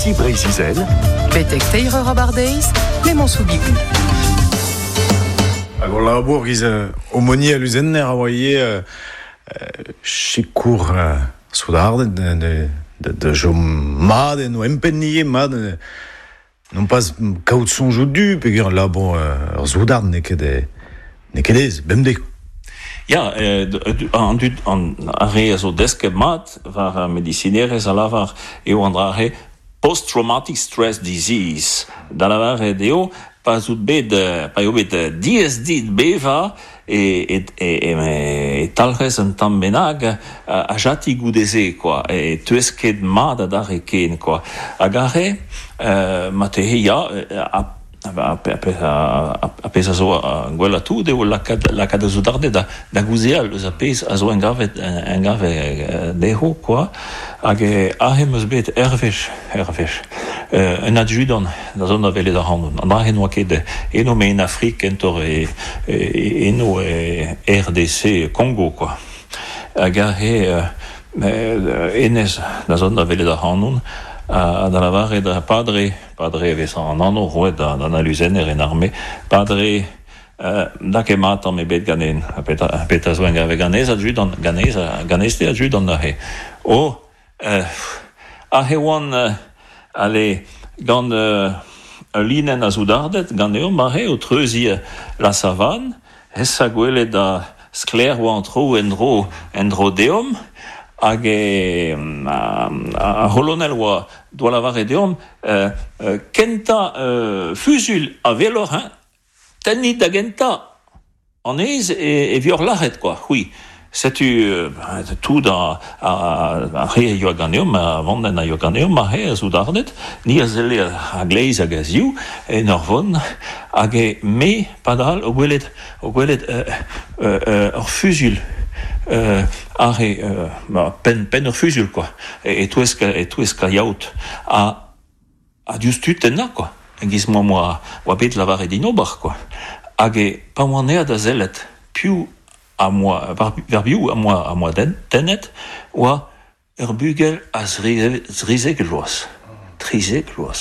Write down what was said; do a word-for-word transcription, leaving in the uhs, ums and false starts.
Ici Breizh-Izel. Betek teir eur abardeiz, Clément Soubigou. Hag o labour giz euh, aumônier aluzenner a oa ivez euh, euh, sikour euh, soudarded de, de, de, de jom mat en o empennie mat euh, non pas kaout soñjoù du peogwir labour euh, ur soudard n'eo ket e n'eo ket aes, bemdez. Ya, eh, an dud an ar re a zo desket mat war ar medisinerezh a lavar eo an dra-se post-traumatic stress disease. Da lavaret eo pa zout bet, pa eo bet diaes dit bevañ e, e, e, e, e talc'hez un tamm bennak a jati goude-se, quoi. E teuez ket mat adarre ken, quoi. Hag aze, euh, marteze ya, a a pezh a zo gwellañ tout eo lakaat lakaat ar soudarded da da gaozeal eus ar pezh a zo engavet engavet dezho quoi hag aze 'm eus bet ur wech ur wech un adjudant da zont da welet ac'hanon an dra-se n'oa ket eno met en Afrik kentoc'h e eno e R D C Congo quoi hag aze hennezh da zont da welet ac'hanon ha da lavaret padre padre e vez an anv roet d'an aluzenner en arme padre euh, da ket mat tamm ebet ganen ha petra petra zo engavet ganez adjudant ganez ganez te adjudant neuze oh euh, aze oan euh, ale gant euh, ul linenn a soudarded ganeomp aze o treuziñ la savane hesa gwelet da sklaer oa an traoù en-dro en-dro deomp hag e ar c'holonel oa doa lavaret deomp euh, euh, kentañ euh, fuzuilh a weloc'h hein tennit da gentañ anez e, e vioc'h lac'het quoi c'hwi setu euh, tout a, a, a re a yoa ganeomp a vandenn a yoa ganeomp aze a soudarded ni a selle a-gleiz hag a-ziv en ur vont hag e me padal o gwelet o gwelet euh, euh, euh, ur fuzuilh euh, aze euh, ba, penn penn ur fuzuilh quoi e-touesk e-touesk ar yaout ha ha diouzhtu tennañ quoi e-giz ma oa oa bet lavaret din ober quoi hag e pa oan aet da sellet piv am boa war piv am boa am boa tennet oa ur bugel a zrizek vloaz trizek vloaz.